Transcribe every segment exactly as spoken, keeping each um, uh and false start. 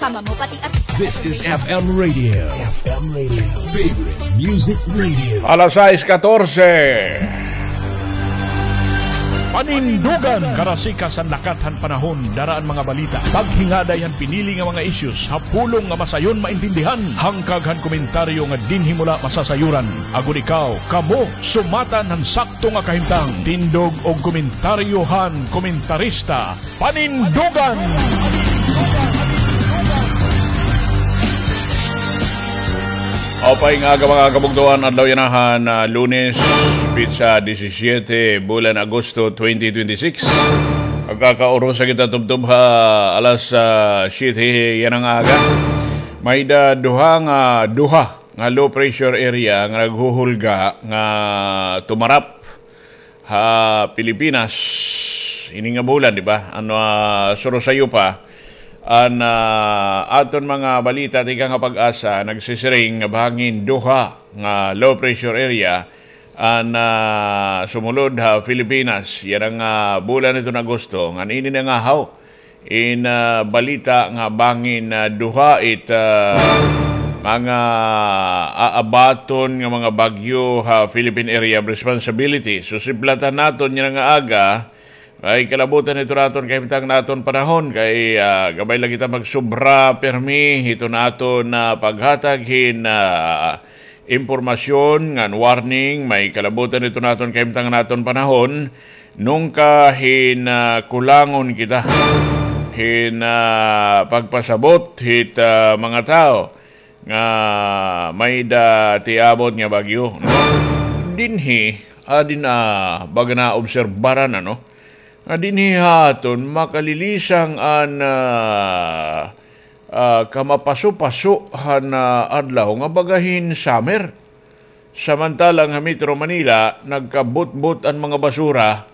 Kama mo pati artista. This is F M Radio. F M Radio. Favorite Music Radio. Alas sais katorse. Panindugan. Karasikas han lakat han panahon, dara an mga balita. Paghingaday han pinili nga mga issues, ha pulong nga masayon maintindihan. Hangkag han komentaryo nga dinhi mo la masasayuran. Agod ikaw, kamo, sumatan han sakto nga kahimtang. Tindog og komentaryo han komentarista. Panindugan! Maupay nga aga, mga kabugtoan, adlaw yana han, ah, Lunes, petsa disisyete, bulan Agosto twenty twenty-six. Magkakaurusa kita tubtob ha alas, ah, siyete yana nga aga. May-ada duha nga, duha nga low pressure area nga naghuhulga nga tumarap ha Pilipinas ini nga bulan, di ba? Ano, ah, surosayo pa, an, ah, aton mga balita tikang ha PAGASA nagsisiring nga bangin duha nga low pressure area an, ah, sumulod ha Pilipinas yana nga bulan hiton Agosto, ngan ini nangahaw in, ah, balita nga bangin, ah, duha it, ah, mga aabaton nga mga bagyo ha Philippine Area of Responsibility. Susiplatan naton yana nga aga, ay kalabutan ito naton kahimtang naton panahon kay, ah, gamay la kita magsobra pirmi hito naton, ah, paghatag hin, ah, impormasyon ngan warning, may kalabutan ito naton kahimtang naton panahon, nungka hin, ah, kulangon kita hin, ah, pagpasabot hit, ah, mga tawo nga may-ada tiabot nga bagyo, no? Dinhi, ah, din, ah, baga naobserbaran, ano? Nga dinhi ha aton makalilisang an, ah, ah, kamapaso-paso han, ah, adlaw nga baga hin summer. Samantala ha Metro Manila, nagkabutbot an mga basura,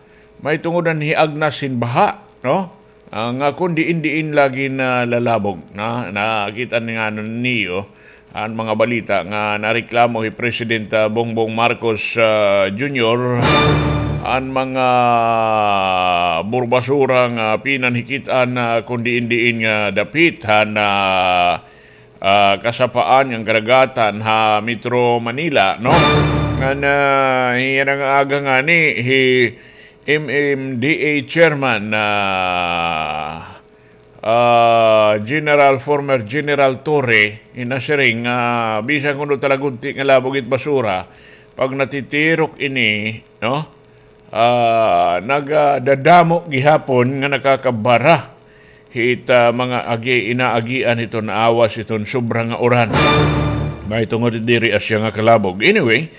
may tungod an hiagnas hin baha, no? Ah, nga kon diin-diin lagi nalalabog, no? Nakita ni nga niyo an mga balita nga nareklamo hi President, ah, Bongbong Marcos, ah, Junior, an mga burbasura nga pinanhikit-an, ah, kon diin-diin nga dapit han, ah, ah, kasapaan ngan kadagatan ha Metro Manila, no? Ngan, ah, yana nga aga ngani, hi M M D A Chairman, ah, ah, General, former General Torre, nasiring nga bisan kuno talagunti nga labog it basura, pag natitirok ini, no? Ah, nagadadamo gihapon nga nakakabara hit, ah, mga agi-, inaagian hiton awas hiton sobra nga uran. Mahitungod diri asya nga kalabog. Anyway,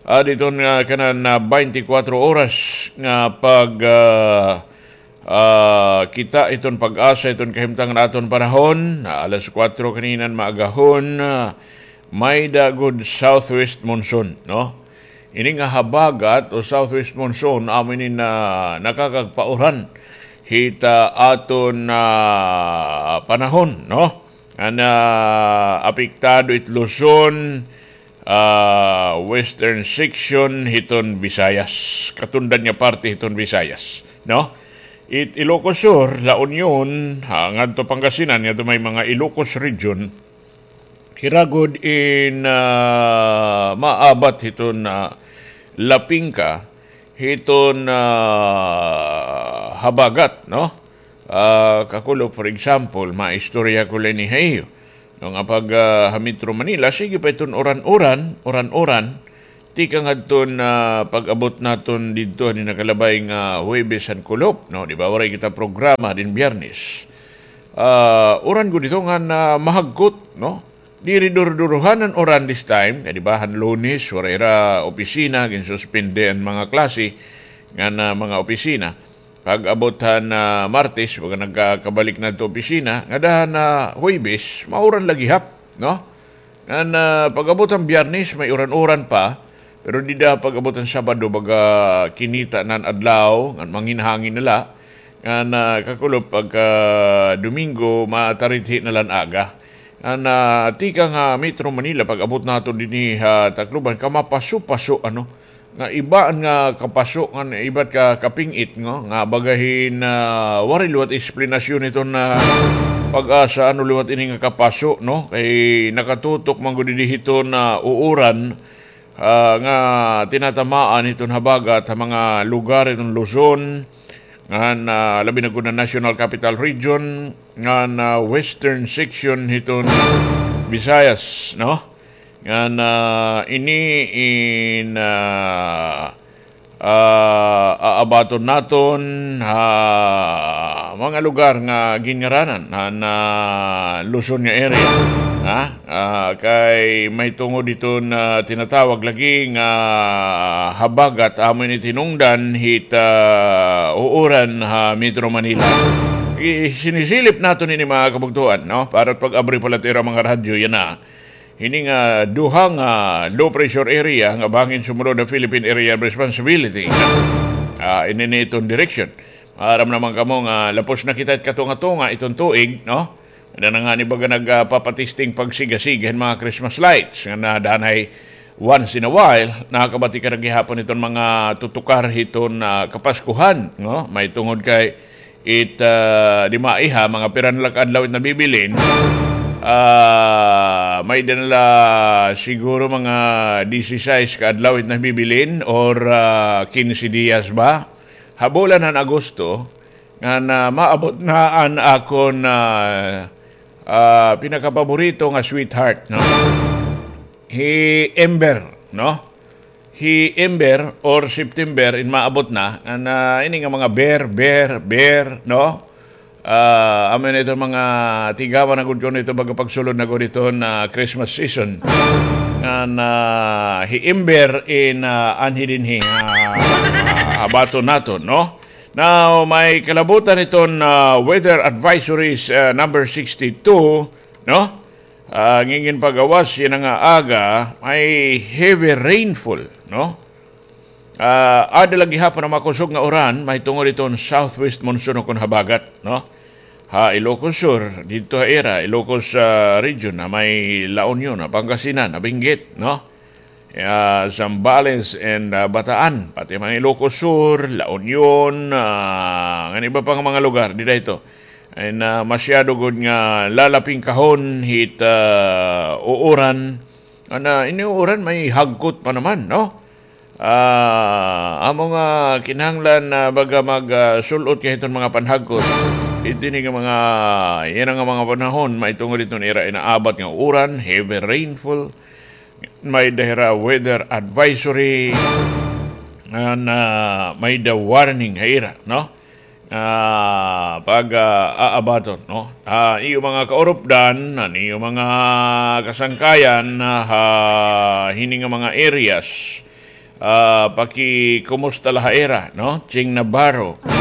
ah, diton nga kanan, ah, twenty-four oras nga pag, ah, ah, kita hiton PAGASA hiton kahimtang naton panahon, ah, alas kuwatro kaninan maagahon, ah, may-ada gud southwest monsoon, no? Ini nga habagat o southwest monsoon, amo ini nga nakakagpauran hit, ah, aton, ah, panahon, no? Nga apektado it Luzon, ah, western section hiton Visayas, katundan nga parte hiton Visayas, no? It Ilocos Sur, La Union, ah, ngadto Pangasinan, ngadto may mga Ilocos region, hira gud in, ah, maabat hiton, ah, lapingka hiton, ah, habagat, no? Ah, kakulop, for example, maistorya ko la ini ha iyo. No, nga pag, ah, ha Metro Manila, sige pa iton uran-uran, uran-uran, tikang hadton, ah, pag-abot naton didto, ani nakalabay nga Huwebes han kulop, no? Di ba, waray kita programa din Biyernes. Ah, uran gud ito nga mahagkot, no? Diri duruduruhan an uran this time, kay di ba, han Lunes, waray hira opisina, ginsuspende an mga klase, ngan mga opisina. Pag-abot han, ah, Martes, baga nagkakabalik na ito opisina, ngada han, ah, Huwebes, mauran la gihap, no? Ngan, ah, pag-abot han Biyernes, may uran-uran pa, pero dida pag-abot han Sabado, baga kinita na an adlaw, ngan manghinhangin na la, ngan, ah, kakulop pagka Domingo, matarithi na la an aga. Ngan, ah, tikang ha Metro Manila, pag-abot naton dinhi ha Tacloban, kamapaso-paso, ano, nga iba nga kapaso, nga iba ka kaping-it, nga, nga baga hin, ah, waray liwat eksplanasyon iton, ah, Pag-asa, ano liwat ini nga kapaso, no? Kay nakatutok man gud didi hiton, ah, uuran, ah, nga tinatamaan hiton habagat ha mga lugar hiton Luzon, ngan, ah, labi na gud na National Capital Region, ngan, ah, western section hiton Visayas, no? Ngan, ah, ini in, ah, ah, aabaton naton ha mga lugar nga ginngaranan han, ah, Luzon nga area, ha? Ah, kay may tungod iton, ah, tinatawag lagi nga habagat amo ini tinungdan hit, ah, uuran ha Metro Manila. I-, sinisilip naton ini, mga kabugtoan, no? Para pag-abri pa la it ira mga radyo, yana. Hini nga duha nga low pressure area nga bangin sumulod ha Philippine Area of Responsibility. Ah, ini ni iton direksyon. Maaram naman kamo nga lapos na kita hit katunga-tunga iton tuig, no? Ada na ngani baga nagpapatesting pagsigasiga hin mga Christmas lights nga nadanay once in a while, nakakabati ka na gihapon iton mga tutukar hiton, ah, Kapaskuhan, no? May tungod kay it, ah, di maiha, mga pira na la ka adlaw it nabibilin. Ah, may-ada na la siguro mga disisais ka adlaw it nabibilin or, ah, kinse diyas ba? Ha bulan han Agosto, nga na maabot na an akon, ah, ah, pinakapaborito nga sweetheart, no? Hi Ember, no? Hi Ember or September in maabot na, ngan, ah, ini nga mga bear, bear, bear, no? Ah, amo na iton mga tigawan na gud kuno ito baga pagsulod na gud iton, ah, Christmas season. Ngan, ah, hi Ember in, ah, anhi dinhi, ah, abaton naton, no? Now, may kalabutan iton, ah, weather advisories, ah, number sixty-two, no? Ah, ngingin pagawas yana nga aga, may heavy rainfall, no? Ah, ada la gihapon an makusog nga uran, mahitungod iton southwest monsoon ukon habagat, no? Ha Ilocos Sur, didto ha ira, Ilocos, ah, region, ha may La Union, ha Pangasinan, ha Benguet, no? Ah, Zambales and, ah, Bataan, pati man Ilocos Sur, La Union, ah, ngan iba pa nga mga lugar, dida ito. And, ah, masyado gud nga lalapingkahon hit, ah, uuran. Ana, ini uuran may hagkot pa naman, no? Ah, amo nga kinahanglan na baga mag, ah, sul-ot ka hiton mga panhagkot. Didto ini nga mga, yana nga mga panahon, mahitungod hiton ira inaabat nga uran, heavy rainfall. May-ada hira weather advisory, ngan, ah, may-ada warning ha ira, no? Ah, pag, ah, aabaton, no? Ah, iyo mga kaurupdan, an iyo mga kasangkayan, ah, ha hini nga mga areas, ah, pakikumusta la ha ira, no? Ching Navarro, no?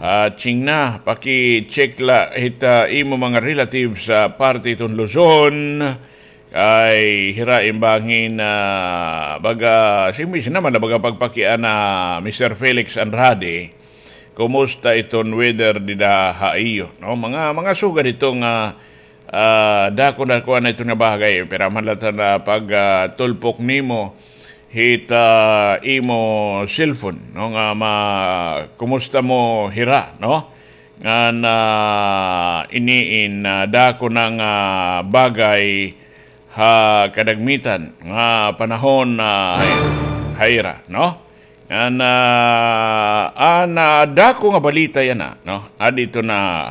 Ah, Ching Na, paki-check la hit, ah, imo mga relatives sa parte hiton Luzon, kay hira in bangin, ah, baga, simi naman na baga pagpakiana, Mister Felix Andrade, kumusta iton weather dida ha iyo, no? Mga, mga sugad ito nga, ah, dako na kuan na ito nga bagay, pira man la ta na pag, ah, tulpok nimo hit, ah, imo cellphone, no? Nga ma-, kumusta mo hira, no? Ngan, ah, ini in, ah, dako na nga bagay ha kadagmitan nga panahon, ah, ha ira, no? Ngan, ah, an, ah, dako nga balita yana, no? Adi ito na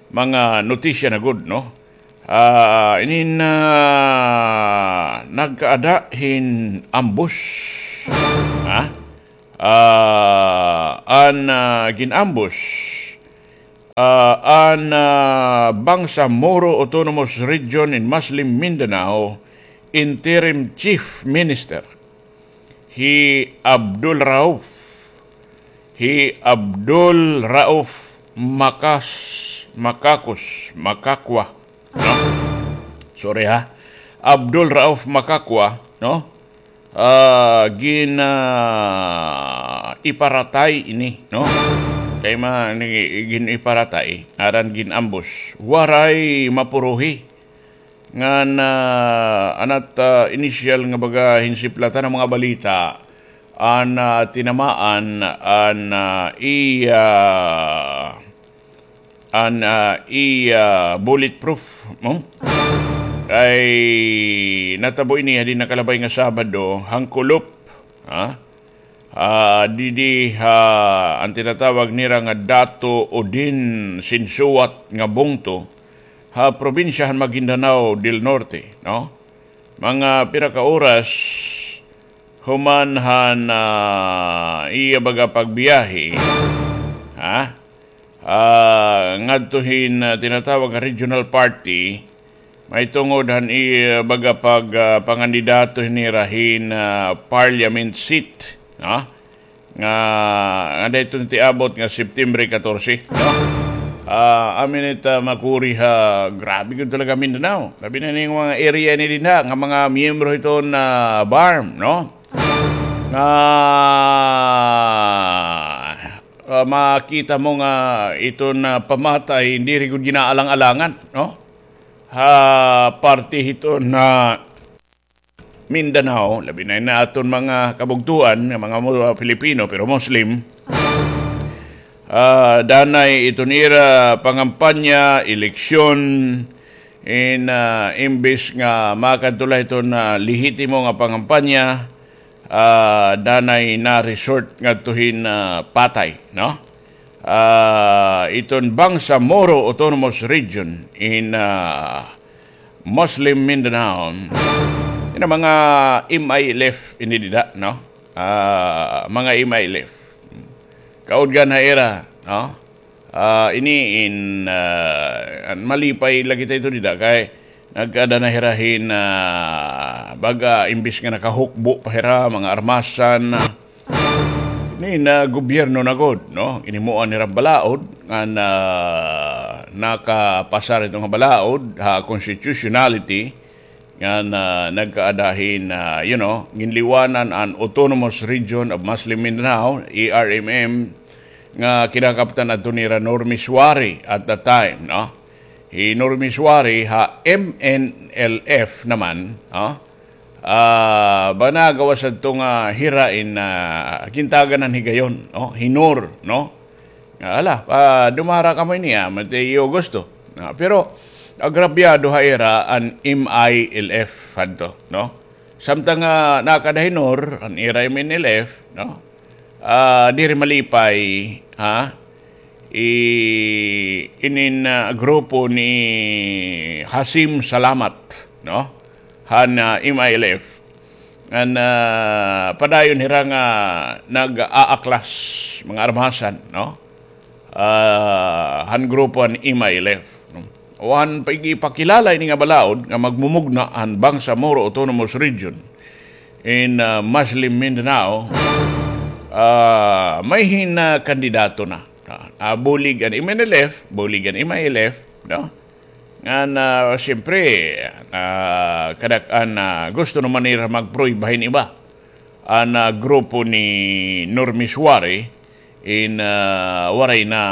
mga notisya na gud, no? Ah, inin, ah, nagkaada hin ambush. Ha? Ah, an, ah, gin-ambush, ah, an, ah, Bangsamoro Autonomous Region in Muslim Mindanao Interim Chief Minister, hi Abdul Rauf, hi Abdul Rauf Makas-, Makakos, Makakwa, no? Sorry, ha. Abdul Rauf Makakwa, no? Ah, gin, ah, iparatay ini, no? Kay ma-, ni-, gin-iparatay, aran gin-ambush. Waray mapuruhi. Ngan, ah, an at, ah, inisyal nga baga hinsiplatan an mga balita, an, ah, tinamaan, an, ah, iya, an, ah, iya bulletproof, no? Kay natabo ini ha di nakalabay nga Sabado, han Kulop, ha? Ah, didi ha, an tinatawag nira nga Dato Odin Sinsuat nga bungto, ha probinsya han Maguindanao del Norte, no? Mga pira ka oras human han, ah, iya baga pagbiyahe, ha? Ah, ngadto hin, ah, tinatawag nga regional party, mahitungod han iya baga pag, ah, pangandidato nira hin, ah, parliament seat, no? Nga, nga dayton tiabot nga September katorse, no? Ah, amin it, ah, makuri ha, grabe gud talaga Mindanao. Labi na ning mga area ini dinha, nga mga miyembro hiton, ah, BARMM, no? Nga, ah, makita mo nga iton, ah, pamatay, diri gud ginaalang-alangan, no? Ha parte hiton, ah, Mindanao, labi na ini aton mga kabugtoan nga mga mo-, Filipino pero Muslim, ah, danay iton ira pangampanya, eleksyon, in, ah, imbis nga makadto la iton, ah, lehitimo nga pangampanya, ah, danay na-resort ngadto hin, ah, patay, no? Ah, iton Bangsamoro Autonomous Region in, ah, Muslim Mindanao. Ini mga M I L F ini dida, no? Ah, mga M I L F. Kaudgan ha ira, no? Ah, ini in, ah, an malipay la kita ito dida kay nagkaada na hira hin, ah, baga imbis nga nakahukbo pa hira, mga armasan, ah, Ini nga gobyerno na gud, no? Ginhimoan nira balaod nga nakapasar ito nga balaod ha constitutionality nga nagkaada hin, ah, you know, ginliwanan an Autonomous Region of Muslim Mindanao, A R M M, nga kinakaptan adto nira Normie Suari at the time, no? Hi Normie Suari ha M N L F naman, no? Ah, bana gawas adto nga hira in, ah, gintagan han higayon, no? Hi Nor, no? Nga, ala, ah, dumara kamo ini, ah, matay iyo gusto. Ah, pero agrabyado ha ira an M I L F hadto, no? Samtang, ah, nakada hi Nor, an ira M N L F, no? Ah, diri malipay, ha? I-, inin, ah, grupo ni Hasim Salamat, no? Han, ah, M I L F. Ngan, ah, padayon hira nga nag-aaklas, mga armasan, no? Ah, han grupo han M I L F, no? Wan pa igipakilala ini nga balaod nga magmumugna han Bangsamoro Autonomous Region in, ah, Muslim Mindanao, ah, may hin, ah, kandidato na. Ah, ah, bulig an M N L F, bulig an M I L F, no? Ngan, ah, siyempre, ah, kadak-an, ah, gusto naman nira magprueba hin iba. An, ah, grupo ni Normie Suari in, ah, waray na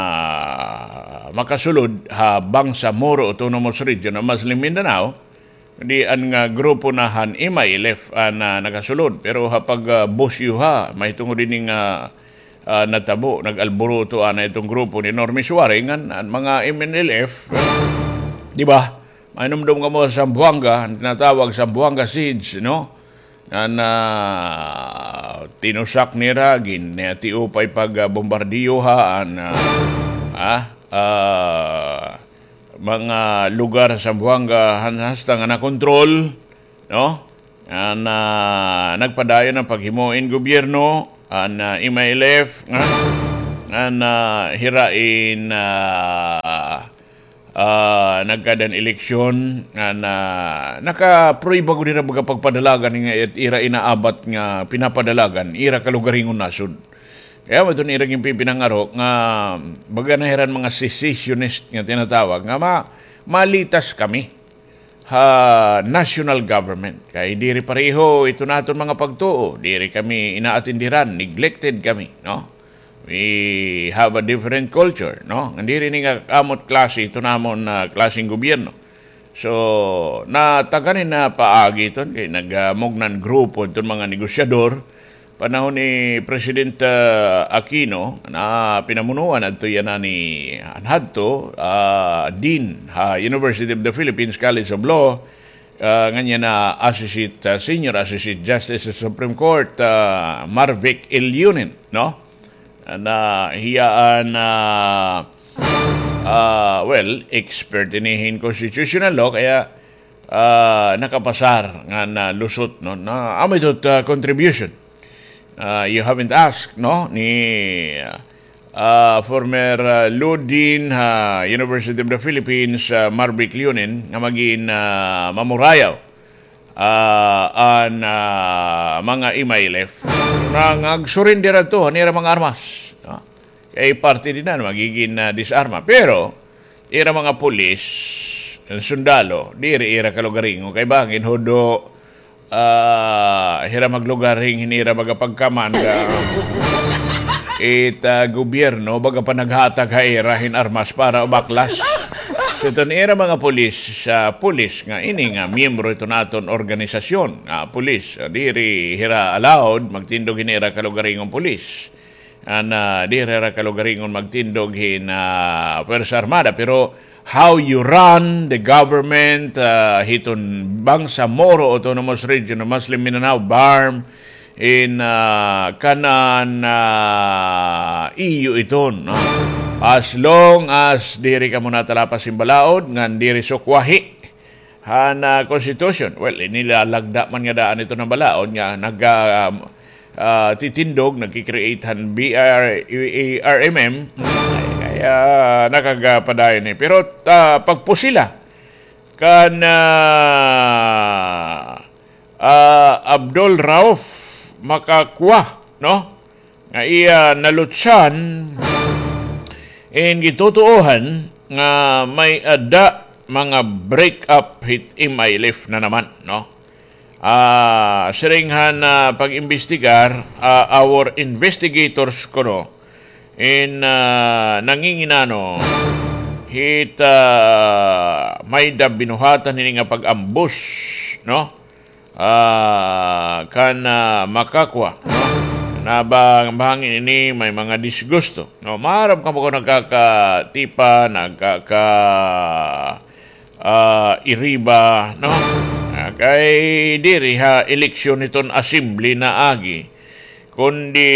makasulod ha Bangsamoro Autonomous Region of Muslim Mindanao, di an nga grupo na han M I L F an, ah, nakasulod. Pero ha pag, ah, busyo ha, mahitungod ini nga, ah, natabo, nag-alboroto ana iton grupo ni Normie Suari ngan an mga M N L F, di ba? Mahinumdom kamo sa Zamboanga, an tinatawag Zamboanga Siege, no? An, ah, tinusak nira, gin-, tiupay pag, ah, bombardiyo ha, an, ah, ah, ah, mga lugar sa Zamboanga, han-, hasta nga nakontrol, no? An, ah, nagpadayon an paghimo hin gobyerno, an, ah, M I L F, nga, an, ah, hira in, ah, ah, nagkaada hin eleksyon, an, ah, nakaprueba gud hira baga pagpadalagan nga it-, ira inaabat nga pinapadalagan, ira kalugaringon nasod. Kay amo iton ira ginpipinangaro nga baga na hira mga secessionist nga tinatawag nga ma-, malitas kami ha national government. Kay diri pareho iton aton mga pagtuo, diri kami inaatindiran, neglected kami, no? We have a different culture, no? Nga diri ini nga amo it klase iton amon, ah, klaseng gobyerno. So, nataganin na paagi iton kay nagmugna an grupo iton mga negosyador panahon ni President, ah, Aquino, na pinamunuan adto yana ni, an hadto, ah, Dean ha University of the Philippines College of Law, ah, ngan yana Associate, ah, Senior Associate Justice sa Supreme Court, ah, Marvic Elyunin, no? Na hiya an, ah, ah, well, expert ini hin constitutional law, kaya, ah, nakapasar ngan lusot, no? Na, amo ito, ah, contribution. Ah, you haven't asked, no? Ni, ah, former, ah, Law Dean ha University of the Philippines, ah, Marvic Elyunin, nga magin, ah, mamurayaw, ah, an, ah, mga M I L F. Nga, nga ag-surrender adto han ira mga armas, no? Kay parte dinhi an magigin, ah, disarma. Pero, ira mga pulis, sundalo, diri ira kalugaringon. Kay bangin hudo, ah, hira maglugaring hin ira baga pagkamanda. It, ah, gobyerno, baga pa naghatag ha ira hin armas para ubaklas. So, iton ira mga pulis, ah, pulis nga ini nga miyembro iton aton organisasyon, nga pulis, ah, diri hira allowed magtindog hin ira kalugaringon pulis. An, ah, diri hira kalugaringon magtindog hin, ah, Puwersa Armada, pero how you run the government, ah, hiton Bangsamoro Autonomous Region of Muslim Mindanao, BARMM, in, ah, kanan, ah, iyo iton, no? As long as diri kamo natalapas hin balaod, ngan diri sukwahi, han, ah, constitution. Well, inilalagda man nga daan ito nga balaod nga nag, ah, ah, titindog, nagki-create han B R, A R M M. Ay, kaya nakagapadayon eh. Pero, ah, pagpusila kan, ah, ah, Abdul Rauf Makakwa, no? Nga iya nalutsan in gitutuohan nga may-ada mga break up hit M I L F na naman, no? Ah, siring han, ah, pag-imbestigar, ah, our investigators kuno in, ah, nanginginano hit, ah, may-ada binuhatan hini nga pag-ambush, no? Ah, kan, ah, Makakwa, no? Na ba-, bahangin ini may mga disgusto, no? Maaram kamo kon nagkakatipa, nagkaka-, ah, iriba, no? Ah, kay diri ha eleksyon hiton assembly naagi, kundi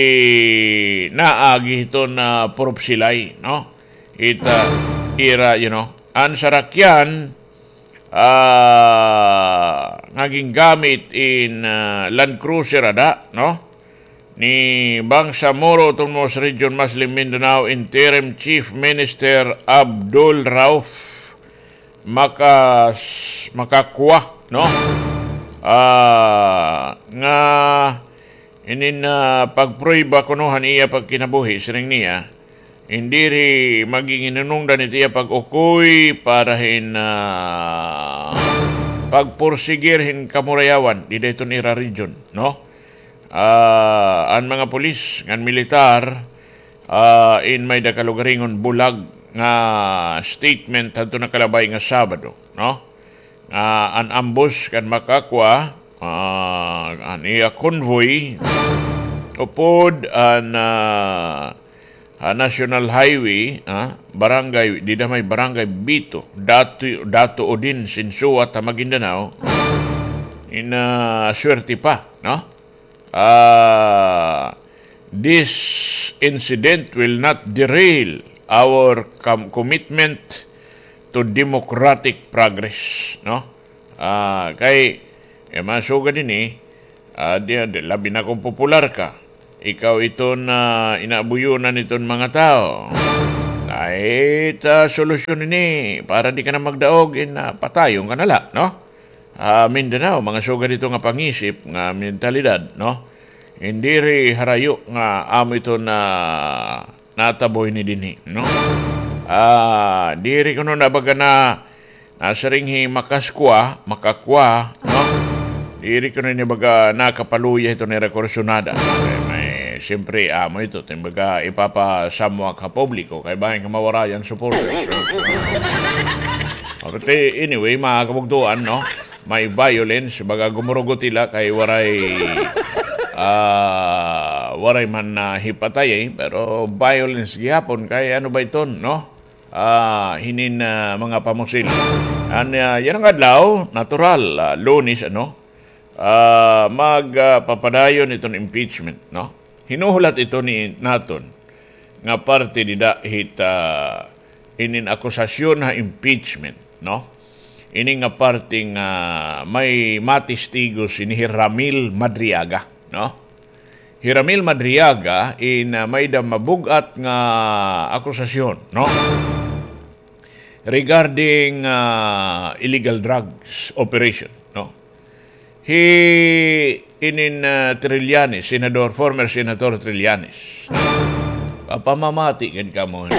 naagi hiton, ah, purupsilay, no? It, ah, ira, you know, an sarakyan, ah, nga gingamit in, ah, Land Cruiser ada, no? Ni Bangsamoro Autonomous Region Muslim Mindanao Interim Chief Minister Abdul Rauf Makas-, Makakwa, no? Ah, nga inin, ah, pagprueba kuno han iya pagkinabuhi, siring niya, in diri maging hinunungdan it iya pag-ukoy para hin, ah, pagpursigir hin kamurayawan dida hiton ira region, no? Ah, an mga pulis ngan militar, ah, in may-ada kalugaringon bulag nga statement hadto nakalabay nga Sabado, no? Ah, an ambush kan Makakwa, ah, an iya convoy, upod an, ah, ah, National Highway, ah, barangay, dida may Barangay Bito, Dato, Dato Odin, Sinsuat ha Maguindanao, in, ah, swerte pa, no? Ah, this incident will not derail our com-, commitment to democratic progress, no? Ah, kay, eh, masugad ini, ah, di, di, labi na kon popular ka. Ikaw iton, ah, inaabuyonan iton mga tawo. Ay, ta solusyon ini, para di ka na magdaog, in, ah, patayon ka na la, no? Ah, Mindanao, mga sugad ito nga pangisip, nga mentalidad, no? Diri harayo nga amo ito na natabo ini dinhi, no? Ah, diri kuno na baga na, nasiring hi Makaskwa, Makakwa, no? Diri kuno ini baga nakapaluya ito nira kursunada. Kay may, siyempre, amo ito, timbaga, ipapasamwak ha publiko, kay bangin nga mawarayan supporters, no? But, eh, anyway, mga kabugtuan, no? May violence, baga gumurugot hila kay waray, Ah, waray man na hipatay, eh, pero violence gihapon kay ano ba iton, no? Ah, hinin, ah, mga pamusil. An, ah, yana nga adlaw, natural, ah, Lunes, ano? Ah, mag, ah, papadayon iton impeachment, no? Hinuhulat ito ni naton nga parte dida hit, ah, inin akusasyon ha impeachment, no? Ini nga parte nga may matistigos ini hi Ramil Madriaga, no? Hi Ramil Madriaga in, ah, may-ada mabug-at nga akusasyon, no? Regarding, ah, illegal drugs operation, no? Hi inin, ah, Trillanes, Senador, former Senator Trillanes. Papamamati gad kamo.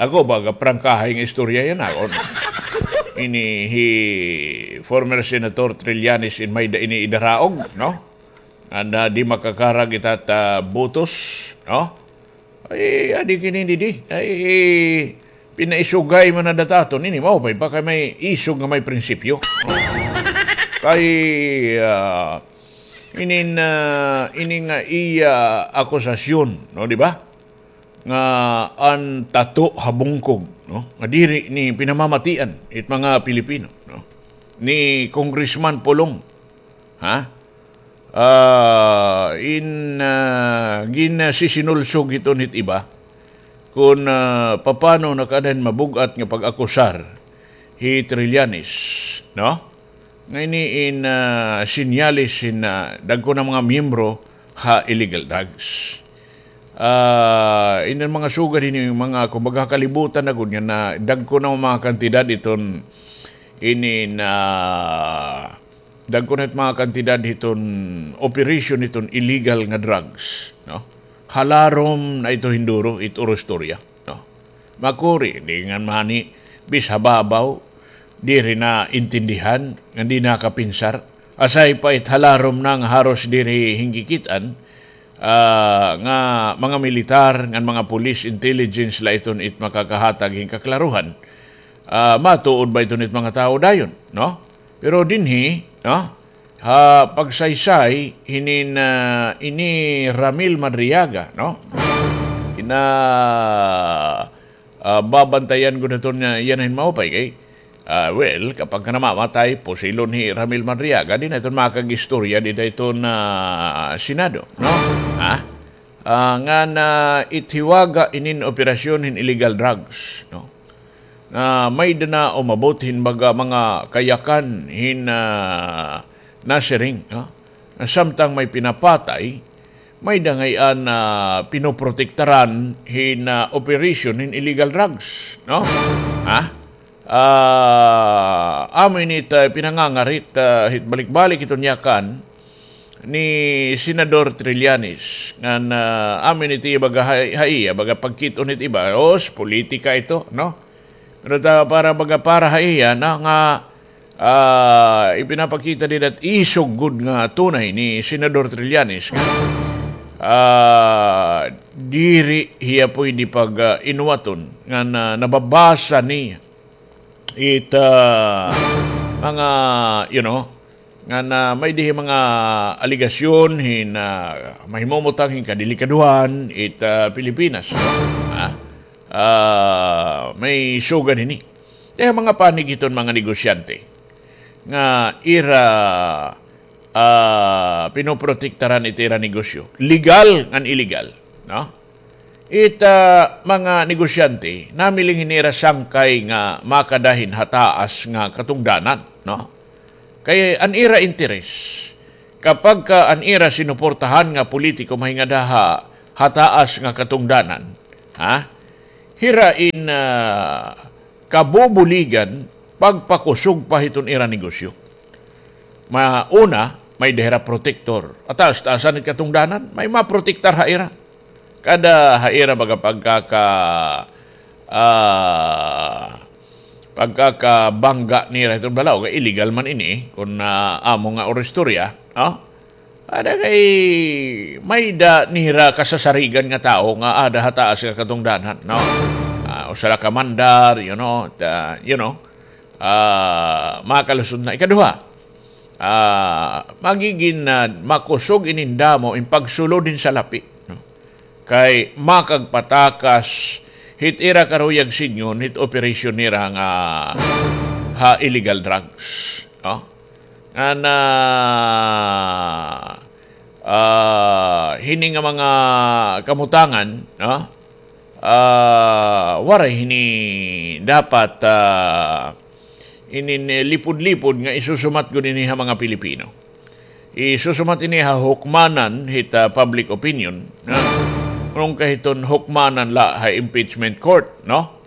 Ako, baga prangkahay nga istorya yana, no? Ini hi former Senator Trillanes in may-ada ini idaraog, no? Nga di makakarag ita ta botos, no? Ay, adi kini didi. Ay, pinaisugay man na dataton. Ini maupay pa kay may isog nga may prinsipyo. Kay, ah, inin, ah, ini nga iya akusasyon, no, di ba? Nga an tato ha bungkog, no? Nga diri ni pinamamatian it mga Pilipino, no? Ni Congressman Pulong, ha? Ah, in, ah, ginasisinulsog hiton hit iba kon, ah, papano nakaadan mabug-at nga pag-akusar hi Trillanes, no? Nga ini in, ah, sinyales hin, ah, dagko nga mga miyembro ha illegal drugs. Ah, ini mga sugad hini mga, kumbaga, kalibutan na gud nga na dagko nga mga kantidad iton ini na dagko nga mga kantidad hiton operation hiton illegal nga drugs, no? Halarom na ito hinduro, it uro istorya, no? Makuri, di ngan mahani, bis ha babaw, diri na intindihan, nga di nakapinsar. Asay pa it halarom na nga haros diri hingkikit-an, ah, nga mga militar, ngan mga police intelligence la iton it makakahatag hin kaklaruhan. Ah, matuod ba iton it mga tawo dayon, no? Pero dinhi, no? Ha pagsaysay hinin, ah, ini Ramil Madriaga, no? Ina, ah, babantayan gud naton yana hin maupay kay, ah, well, kapag ka namamatay, pusilon hi Ramil Madriaga, di na iton makag-istorya dida hiton, ah, Senado, no? Ha? Ah, ngan it hiwaga inin operasyon hin illegal drugs, no? Nga may-ada na umabot hin baga mga kayakan hin, ah, nasiring, no? Nga samtang may pinapatay, may-ada ngay-an, ah, pinoprotektaran hin, ah, operation hin illegal drugs, no? Ha? Ah, amo ini it pinangangarit, ah, hit balik-balik iton yakan ni Senador Trillanes ngan, ah, amo ini it iya baga ha, ha iya baga pagkit-on hit iba, os, politika ito, no? Pero ta, para baga para ha iya na nga, ah, ipinapakita dida it isog gud nga tunay ni Senador Trillanes nga, ah, diri hiya pwede pag, ah, inuwaton nga na, nababasa niya it, ah, mga, you know, nga na may-ada hi mga alegasyon hin, ah, mahimumutang hin kadelikadohan it, ah, Pilipinas, no? Ha? Ah, may sugad hini. Kay mga panig hiton mga negosyante nga ira, ah, pinoprotektaran it ira negosyo, legal ngan illegal, no? It, ah, mga negosyante, namiling hin ira sangkay nga makada hin hataas nga katungdanan, no? Kay an ira interes, kapag ka an ira sinuportahan nga politiko mahingada ha hataas nga katungdanan, ha? Hira in, ah, kabubuligan pagpakusog pa hiton ira negosyo. Ma-, una, may-ada hira protektor. Hataas-taasan it katungdanan, may maprotektar ha ira. Kada ha ira baga pagkaka-, ah, pagkakabangga nira hiton balaod, illegal man ini, kon, ah, amo nga uro istorya, no? Ada kay may-ada nira kasasarigan nga tawo nga ada ha taas nga katungdanan, no? Ah, usa la ka mandar, you know, ta-, you know, ah, makalusot na. Ikaduha, ah, magigin, ah, makusog inin damo in pagsulod hin salapi, no? Kay makagpatakas hit ira karuyag sidngon hit operasyon nira nga ha illegal drugs, no? Ngan, ah, hini nga mga kamutangan, no? Ah, waray hini dapat, ah, inin, eh, lipod-lipod nga isusumat gud ini ha mga Pilipino. Isusumat ini ha hukmanan hit, ah, public opinion, no? Ngan kahiton hukmanan la ha impeachment court, no?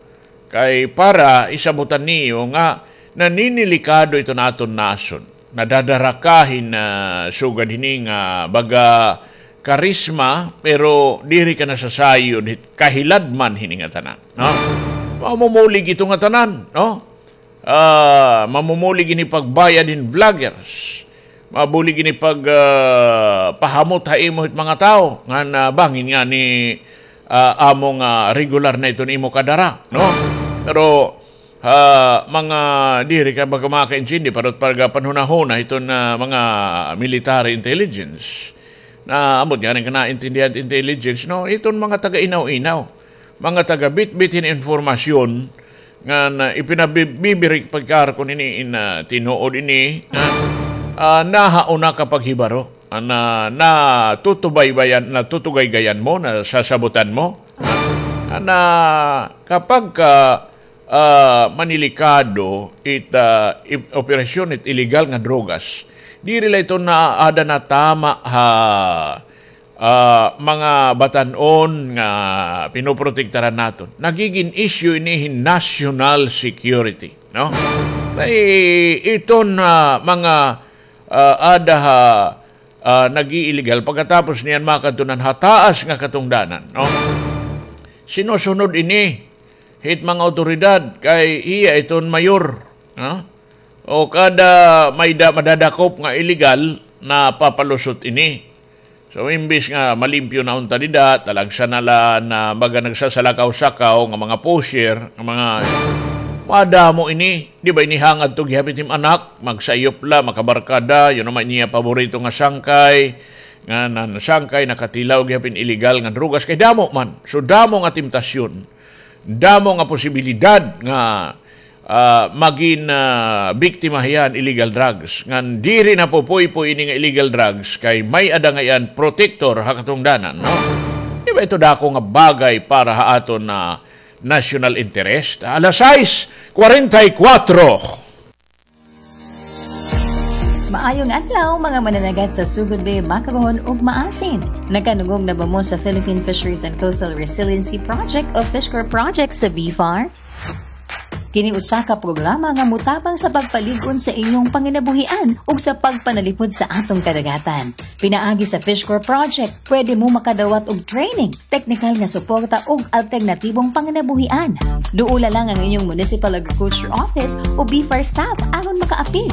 Kay para isabutan niyo nga naninilikado iton aton nasod. Nadadaraka hin, ah, sugad hini nga baga karisma, pero diri ka nasasayod hit kahiladman hini nga tanan, no? Mamumulig ito nga tanan, no? Ah, mamumulig ini pagbayad hin vloggers. Mabulig ini pag, ah, pahamot ha imo hit mga tawo ngan bangin ngani, ah, amo nga regular na iton imo kadara, no? Pero, ah, mga diri ka baga makaintindi, pero pag, ah, panhunahuna iton, ah, mga military intelligence, na ambot ngani ka naintindihan intelligence, no? Iton mga taga-inaw-inaw, mga taga-bitbit hin impormasyon, ngan ipinabibirik pagkar kon ini in, ah, tinuod ini, nga, ah, nahauna ka paghibaro, ah, na, natutubaybayan, natutugaygayan mo, nasasabutan mo, ah, na kapag ka, ah, manilikado it, ah, i-, operasyon it illegal nga drogas, diri la ito naada natama ha ah, mga batan-on nga pinoprotektaran naton. Nagigin issue ini hin national security, no? Kay iton, ah, mga, ah, ada ha, ah, nag-iiligal, pagkatapos niyan makadto na ha taas nga katungdanan, no? Sinusunod ini hit mga awtoridad kay hiya iton mayor, no? O kada may da-, madadakop nga illegal, napapalusot ini. So, imbis nga malimpyo na unta dida, talagsa na la na baga nagsasalakaw-sakaw nga mga pusher, nga mga madamo ini. Di ba ini hangad to gihapit him anak, magsayop la, makabarkada, yun naman niya paborito nga sangkay, nga nan-, sangkay, nakatilaw gihapit illegal nga drugas, kay damo man. So, damo nga temptasyon. Damo nga posibilidad nga, ah, magin, ah, biktima hiya han illegal drugs. Ngan diri napupuypoy ini nga illegal drugs kay may-ada ngay-an protektor ha katungdanan, no? Di ba ito dako nga bagay para ha aton na national interest? Alas sais kwarenta y kuwatro. Maayong adlaw, mga mananagat sa Sugod Bay, Makaron, ug Maasin. Nakanungog na ba mo sa Philippine Fisheries and Coastal Resiliency Project o FishCorp Project sa BFAR? Kini usa ka programa nga motabang sa pagpalig-on sa inyong panginabuhian ug sa pagpanalipod sa atong kadagatan. Pinaagi sa FishCorp Project, pwede mo makadawat og training, teknikal nga suporta ug alternatibong panginabuhian. Duola lang ang inyong Municipal Agriculture Office o BFAR staff aron makaapil.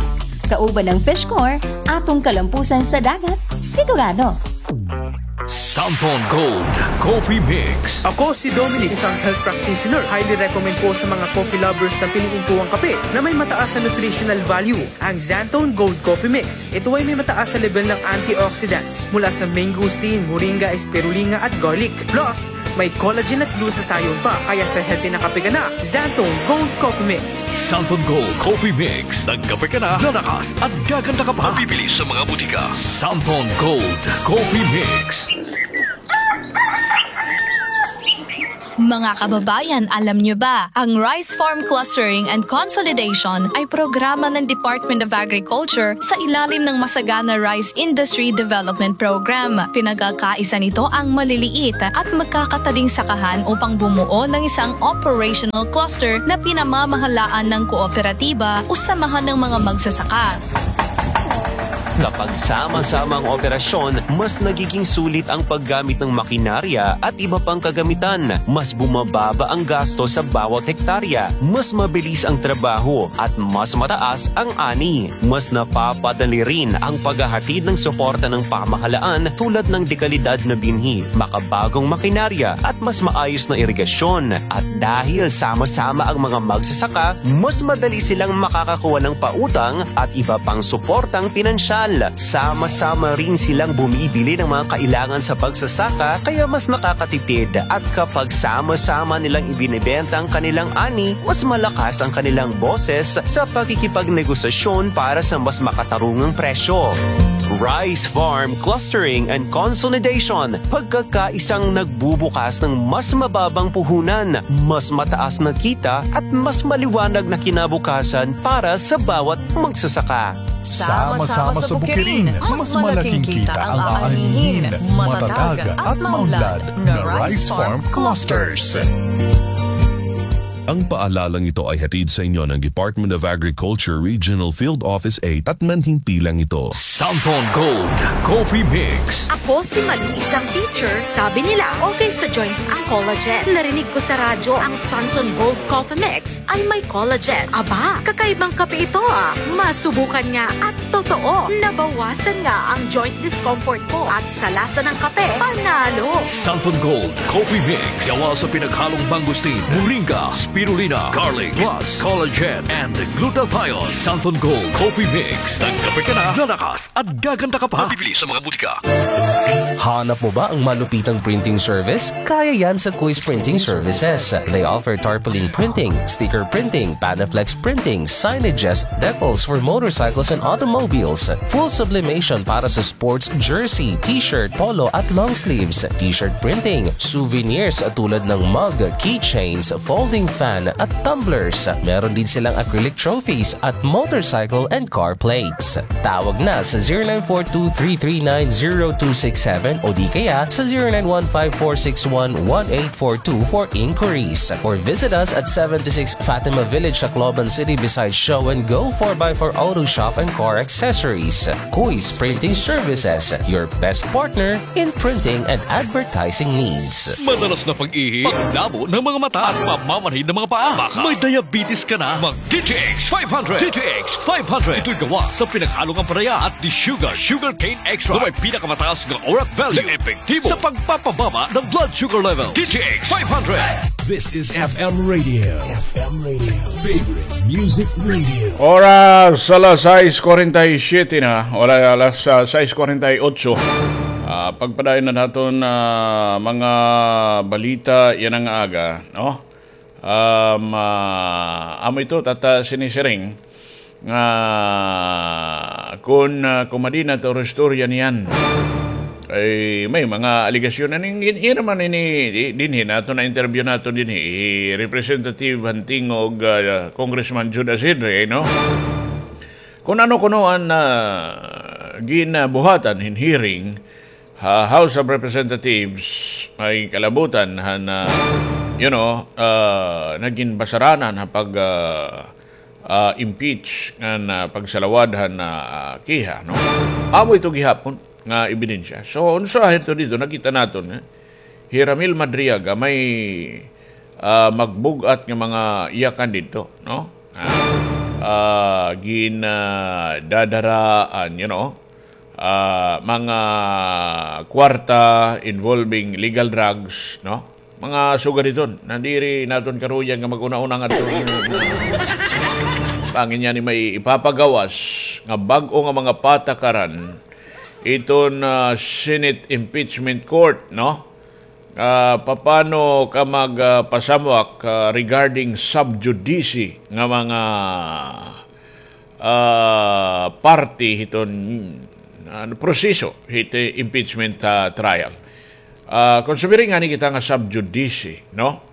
Kauban ang FishCorp, atong kalampusan sa dagat, sigurado. Santhon Gold Coffee Mix. Ako si Dominic, isang health practitioner. Highly recommend ko sa mga coffee lovers na piliin ko ang kape na may mataas na nutritional value. Ang Xanthone Gold Coffee Mix. Ito ay may mataas na level ng antioxidants mula sa mangosteen, moringa, spirulina at garlic. Plus, may collagen at glutathione pa. Kaya sa healthy na kape ka na, Xanthone Gold Coffee Mix. Xanthone Gold Coffee Mix. Nagkape ka na, lalakas at gaganda ka pa. Mabibili sa mga butika. Xanthone Gold Coffee Mix. Mga kababayan, alam niyo ba, ang Rice Farm Clustering and Consolidation ay programa ng Department of Agriculture sa ilalim ng Masagana Rice Industry Development Program. Pinagkakaisa nito ang maliliit at magkakatading sakahan upang bumuo ng isang operational cluster na pinamamahalaan ng kooperatiba o samahan ng mga magsasaka. Kapag sama-sama ang operasyon, mas nagiging sulit ang paggamit ng makinarya at iba pang kagamitan. Mas bumababa ang gasto sa bawat hektarya. Mas mabilis ang trabaho at mas mataas ang ani. Mas napapadali rin ang paghahatid ng suporta ng pamahalaan tulad ng dekalidad na binhi, makabagong makinarya at mas maayos na irigasyon. At dahil sama-sama ang mga magsasaka, mas madali silang makakakuha ng pautang at iba pang suportang pinansyal. Sama-sama rin silang bumibili ng mga kailangan sa pagsasaka, kaya mas nakakatipid. At kapag sama-sama nilang ibinebenta ang kanilang ani, mas malakas ang kanilang boses sa pakikipagnegosasyon para sa mas makatarungang presyo. Rice Farm Clustering and Consolidation, pagkakaisang nagbubukas ng mas mababang puhunan, mas mataas na kita at mas maliwanag na kinabukasan para sa bawat magsasaka. Sama-sama sa Bukirin, mas malaking kita ang aanihin, matatag at maunlad na Rice Farm Clusters. Ang paalalang ito ay hatid sa inyo ng Department of Agriculture Regional Field Office eight at manhimpilang ito. Santon Gold Coffee Mix. Ako si Malu, isang teacher. Sabi nila, okay sa joints ang collagen. Narinig ko sa radyo ang Santon Gold Coffee Mix ay may collagen. Aba, kakaibang kape ito ah. Masubukan nga at totoo, nabawasan nga ang joint discomfort ko at sa lasa ng kape, panalo! Santon Gold Coffee Mix. Gawa sa pinaghalong mangosteen, moringa, spirulina, garlic, plus collagen and glutathione. Santon Gold Coffee Mix. Nagkape ka na, lalakas at gaganda ka pa. Mabibili sa mga butika. Hanap mo ba ang malupitang printing service? Kaya yan sa Kuis Printing Services. They offer tarpaulin printing, sticker printing, Panaflex printing, signages, decals for motorcycles and automobiles, full sublimation para sa sports jersey, t-shirt, polo at long sleeves, t-shirt printing, souvenirs tulad ng mug, keychains, folding fan at tumblers. Meron din silang acrylic trophies at motorcycle and car plates. Tawag na sa zero nine four two three three nine zero two six seven o di kaya sa zero nine one five four six one one eight four two for inquiries. Or visit us at seventy-six Fatima Village, Tacloban City, beside Show and Go four by four Auto Shop and Car Accessories. Kuis Printing Services, your best partner in printing and advertising needs. Madalas na pag-ihi, paglabo ng mga mata, at pamamanhid ng mga paa. Baka may diabetes ka na. Mag D T X five hundred. D T X five hundred. Ito'y gawa sa pinaghalong ampalaya at desugar, sugarcane extract, na may pinakamataas nga orat value, epektibo sa pagpapababa ng blood sugar level. D T X five hundred. This is F M Radio. F M Radio. Favorite Music Radio. Oras, alas sais kuwarenta y siyete na. Wala, alas, ah, sais kuwarenta y otso. Ah, pagpadayon na naton, ah, mga balita yana nga aga, no? Um, ah, amo ito, tata, sinisiring nga kun, ah, kumadina ta oras istorya niyan. Ay, may mga alegasyon. Ano yung, yun naman ini, di-, dinhi nato na interview nato dinhi, hi Representative Hantingog, ah, Congressman Jude Asidre, no? Kung ano kuno an, ah, ginabuhatan hin hearing ha House of Representatives, may kalabutan han, ah, you know, ah, nagin basaranan ha pag, ah, ah, impeach ngan, ah, pagsalawad han, ah, kiha, no? Amo ito gihapon nga ebidensya. So, unsa hito dito, nakita naton, eh? Hi Ramil Madriaga may, ah, magbug-at nga mga yakan didto, no? Ah, ah, gin, ah, dadaraan, you know, ah, mga kwarta involving legal drugs, no? Mga sugad hiton, nadiri naton karuyan nga mag-una-una ngadto. Pangin niya ni may ipapagawas nga bag-o nga mga patakaran iton, ah, Senate Impeachment Court, no? Ah, papano ka mag, ah, pasamwak, ah, regarding sub judice nga mga, ah, parte hiton, ah, proseso hit impeachment, ah, trial? Ah, kung sumiring ngani kita nga sub judice, no?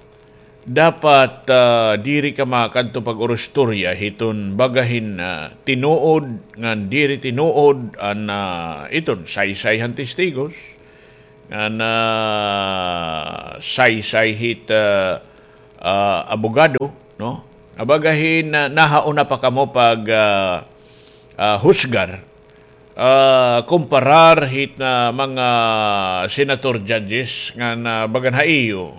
Dapat, ah, diri ka makadto pag-urustorya hiton baga hin, ah, tinuod ngan diri tinuod an, ah, iton saysay han testigos, ngan, ah, saysay hit, ah, ah, abogado, no? Nga baga hin, ah, nahauna pa kamo pag, ah, ah, husgar. ah, kumparar hit na mga senator judges ngan bagan ha iyo.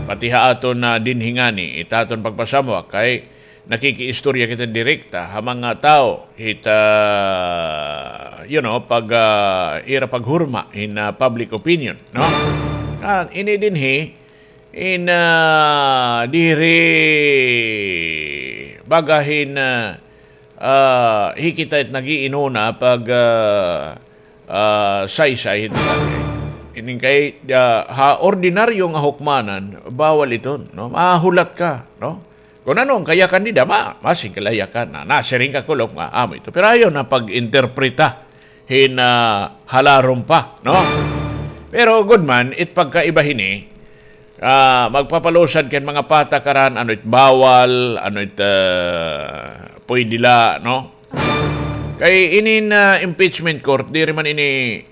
Pati ha aton na dinhi ngani, it aton pagpasamwak kay nakikiistorya kita direkta ha mga tawo hit, ah, you know, pag, ah, ira paghurma hin, ah, public opinion, no? Ah, ini dinhi, in, ah, diri baga hin, ah, ah, hi kita it nag-iinuna pag, ah, ah, saysay hit lalaki. Ining kay, ah, ha ordinaryo nga hukmanan, bawal iton, no? Mahulat ka, no? Kon ano an kayakan nida, ma-, masing kalayakan na, nasiring ka kulop nga amo ito. Pero ayaw na pag-interpreta hin, ah, halarom pa, no? Pero gud man, it pagkaiba hini, ah, magpapalusad kan mga patakaran, ano it bawal, ano it, ah, pwede la, no? Kay inin, ah, impeachment court, diri man ini,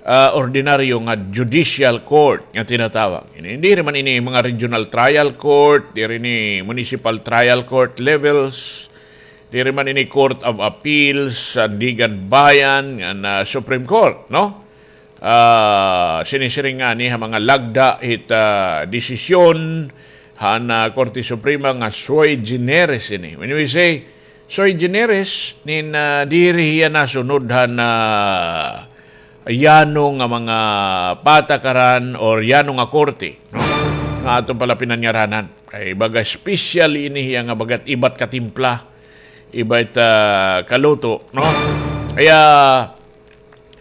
ah, ordinaryo nga judicial court nga tinatawag. Ini, diri man ini mga regional trial court, diri ini municipal trial court levels, diri man ini Court of Appeals, Sandiganbayan, ngan, ah, Supreme Court, no? Ah, sinisiring ngani ha mga lagda hit, ah, desisyon han, ah, Korte Suprema nga sui generis ini. When we say sui generis, nin, ah, diri hiya nasunod han, ah, yano nga mga patakaran or yano nga korte, no? Nga aton pala pinanyaranan. Kay baga special ini hiya nga bagat ibat katimpla, ibat, ah, kaluto, no? Kaya,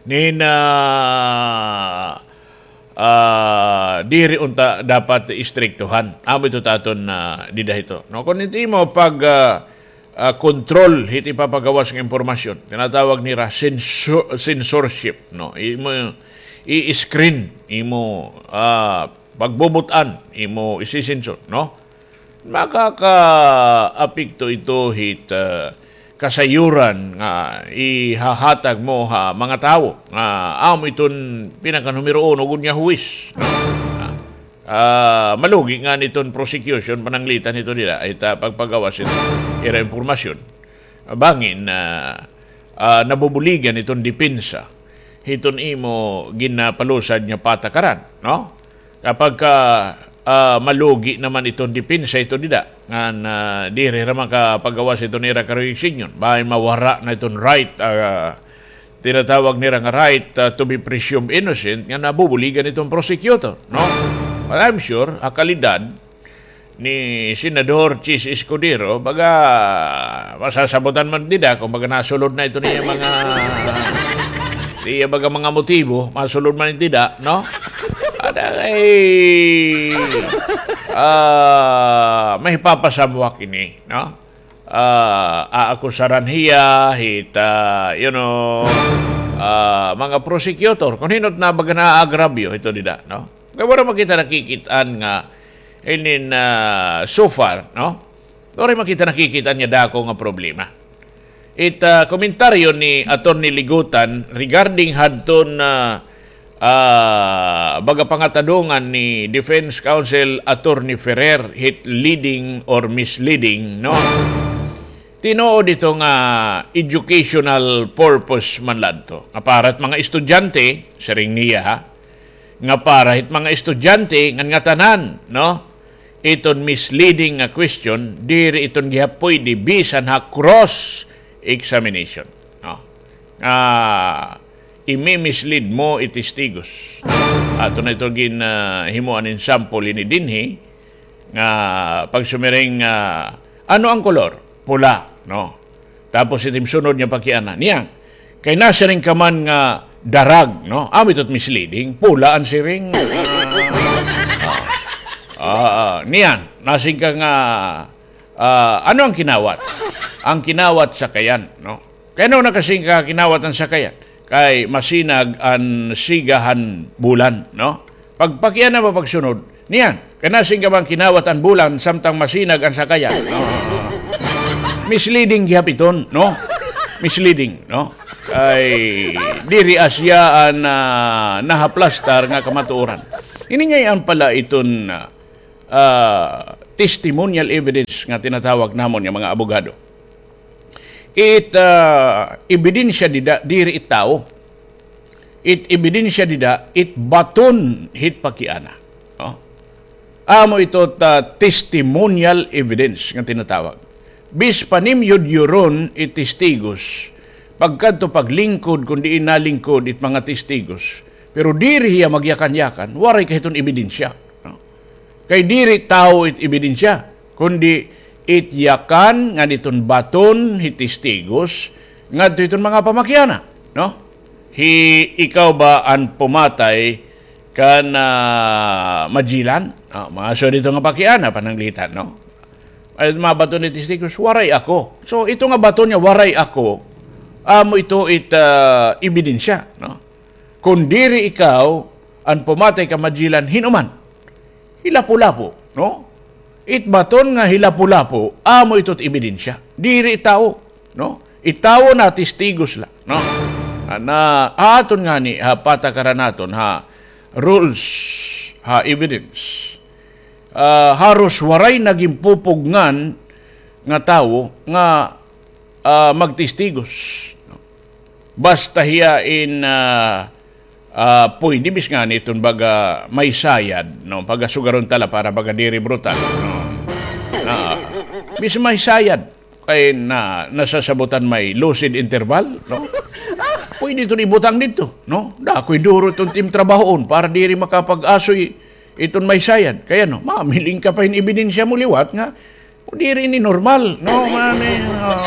nin, ah, ah, diri unta dapat istriktuhan. Amo ito taton na dida hito. No, kon ito imo pag, ah, ah, control hit ipapagawas nga impormasyon. Tinatawag nira censor-, censorship, no? Imo i-screen, imo, ah, pagbubut-an, imo isisensor, no? Makakaapekto ito hit, ah, kasayuran nga ihahatag mo ha mga tawo nga amo iton pinakanumero uno gud nga huwis, no? Ah, ah, malugi ngani iton prosecution pananglitan hito nila, it, ah, pagpagawas hit ira impormasyon. Bangin, ah, ah, nabubuligan iton depensa hiton imo ginapalusad nga patakaran, no? Kapag ka, ah, malugi naman iton depensa hito dida, ngan, ah, diri hira makapagawas hiton ira karuyag-sidngon, bangin mawara na iton right, ah, tinatawag nira nga right, ah, to be presumed innocent, nga nabubuligan iton prosecutor, no? But I'm sure, ha kalidad ni Senador Chiz Escudero, baga, masasabutan man dida, kon baga nasulod na iton iya mga, iya baga mga motibo, masulod man dida, no? Ada kay, ah, mahipapasamwak ini, no? Ah, aakusaran hiya hit, ah, you know, ah, mga prosecutor. Kon hin-o it na baga naaagravyo hito dida, no? Kay waray man kita nakikit-an nga inin, ah, so far, no? Waray man kita nakikit-an nga dako nga problema. It, ah, komentaryo ni Attorney Ligutan regarding hadton, ah, ah, baga pangatadongan ni Defense Counsel Attorney Ferrer hit leading or misleading, no? Tinuod ito nga educational purpose man la adto. Nga para hit mga estudyante, siring niya, ha? Nga para hit mga estudyante, ngan ngatanan, no? Iton misleading nga question, diri iton gihap pwede bisan ha cross examination, no? Ah, imi-mislead mo it testigos. Aton na ito gin, ah, himuan hin sample hini dinhi, nga pagsumiring, ah, "Ano ang kolor?" "Pula," no? Tapos it im sunod nga pakiana, niyan, "Kay nasiring ka man nga darag," no? Amo ito it misleading, pula an siring. Ah, ah, niyan, nasiring ka nga, ah, "Ano ang kinawat?" "Ang kinawat, sakayan," no? "Kay ano nakasiring ka kinawat an sakayan?" "Kay masinag an siga han bulan," no? Pagpakiana pa pagsunod, niyan, "Kay nasiring ka man kinawat an bulan samtang masinag an sakayan?" No? Misleading gihap iton, no? Misleading, no? Kay diri asya an, ah, nahaplastar nga kamatuoran. Ini ngay-an pala iton, ah, ah, testimonial evidence nga tinatawag namon nga mga abogado. It, ah, ebidensya dida, diri it tawo. It ebidensya dida, it baton hit pakiana. No? Amo ito ta testimonial evidence nga tinatawag. Bis pa nim yudyuron it testigos, pagkadto paglingkod, kun diin nalingkod it mga testigos, pero diri hiya magyakan-yakan, waray kahiton ebidensya. No? Kay diri tawo it ebidensya, kundi it yakan ngan iton baton hit testigos ngadto hiton mga pamakiana, no? Hi, ikaw ba an pumatay kan, ah, Magellan? Ah, mga sugad hito nga pakiana, pananglitan, no? Ay, mga baton hit testigos, waray ako. So, ito nga baton nga waray ako, amo ito it, ah, ebidensya, no? Kun diri ikaw an pumatay kan Magellan, hin-o man? Hi Lapu-Lapu, no? It baton nga hi Lapu-Lapu, amo ito it ebidensya. Diri tawo, no? It tawo na testigos la, no? Ana, aton ngani, ha, patakaran naton, ha, rules, ha, evidence. Ah, haros waray na ginpupugngan nga tawo nga, ah, magtestigos, no? Basta hiya in, ah, ah, puyde bis ngani iton baga may sayad, no? Pagasugaron ta la para baga diri brutal, no? Ah, bis may sayad kay na, nasasabutan may lucid interval, no? Puyde iton ibutang didto, no? Dako hin duro iton tim trabahoon para diri makapag-asoy iton may sayad. Kay ano, mamiling ka pa hin ebidensya mo liwat nga diri ini normal, no? Mani, ah,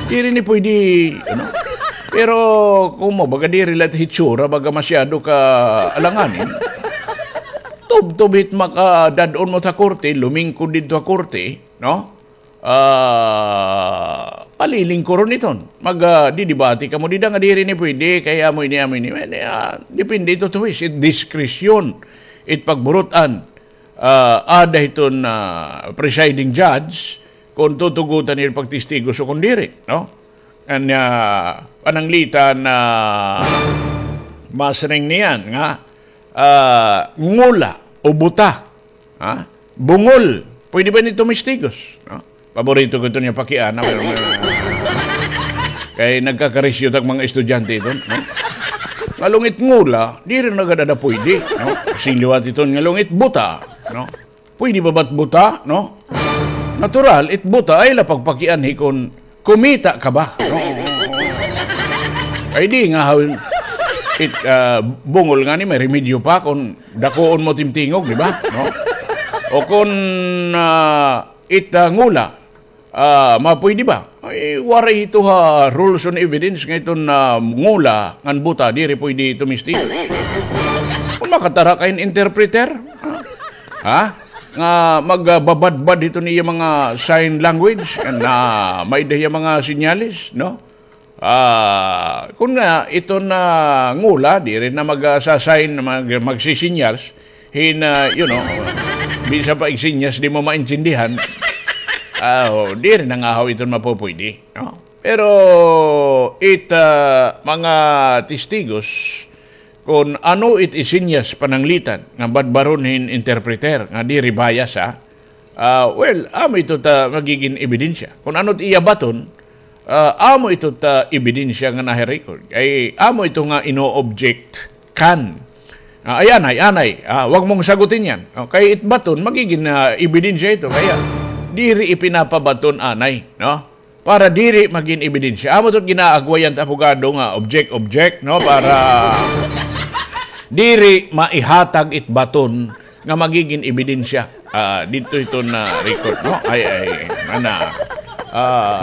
diri ini puyde, ano? Pero, kun mo, baga diri la it hitsura, baga masyado ka alanganin. Tubtob hit makadad-on mo ha korte, lumingkod didto ha korte, no? Ah, palilingkuron iton. Mag, ah, didibati kamo dida nga diri ini puyde, kay amo ini, amo ini. Well, ah, depende ito to his, it diskresyon, it pagburut-an ah, ada hiton, ah, presiding judge kon tutugotan hiya pagtestigo o kon diri, no? An, ah, pananglitan, ah, masiring niyan nga, ah, ngula o buta, ha? Bungol, puyde ba ini tumistigos, no? Paborito ko ito niya pakiana, pero nga, kay nagkakarisyo tak mga estudyante ito, no? Ngalong it ngula, diri na gad ada puyde, no? Sing liwat iton ngalong it buta, no? Puyde ba bat buta, no? Natural, it buta ay la pagpakianhi kon kumita ka ba, no? Ay di nga hawin, it, ah, bungol ngani may remedyo pa kon dakuon mo timtingog, di ba? No? O kon, ah, it, ah, ngula, ah, mapuyde ba? Ay, waray ito ha rules on evidence nga iton, ah, ngula ngan buta, diri puyde tumistigos. Kon makatara ka hin interpreter, ha? Nga magbabadbad hiton iya mga sign language, na may-ada hiya mga senyales, no? Ah, kon nga, iton ngula, diri na mag, ah, sa-sign, mag-, magsisinyas, hin, ah, you know, bisan pa igsinyas, di mo maintindihan. Ah, o, diri na ngahaw iton mapupuyde, no? Pero it, ah, mga testigos, kon ano it isinyas pananglitan nga badbaron hin interpreter nga diri bias, ha? Ah, well, amo ito ta magigin ebidensya. Kon ano it iya baton, ah, amo ito ta ebidensya nga nahi-record. Ay, amo ito nga ino-object kan. Ah, ay, anay, anay, ah, wag mong sagutin yan. Okay, it baton, magigin, ah, ebidensya ito. Kaya, diri ipinapabaton, anay, no? Para diri magin ebidensya. Amo ito ginaagwayan ta abogado nga object, object, no? Para diri maihatag it baton nga magigin ebidensya. Ah, didto ito na record, no? Ay, ay, mana. Ah,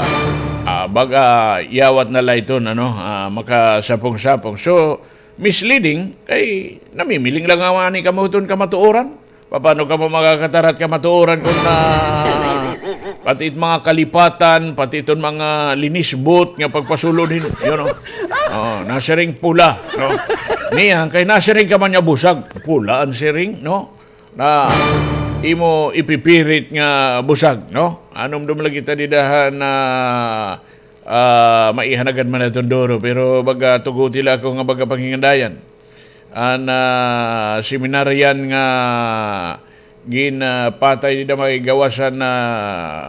ah, baga yawat na la ito, ano, ah, makasapong-sapong. So, misleading, kay namimiling la ngani kamo hiton kamatuoran. Paano kamo makakatarat kamatuoran kon, ah, pati it mga kalipatan, pati iton mga linisbot nga pagpasulod hin, you know. Oh, nasiring pula, no? Niyan, kay nasiring ka man nga busag, pula an siring, no? Na imo ipipirit nga busag, no? Anumdom la kita dida han, ah, ah, maihanagad man iton duro, pero baga tuguti la ako nga baga panghingandayan. An, ah, seminarian nga ginpatay dida may gawas han, ah,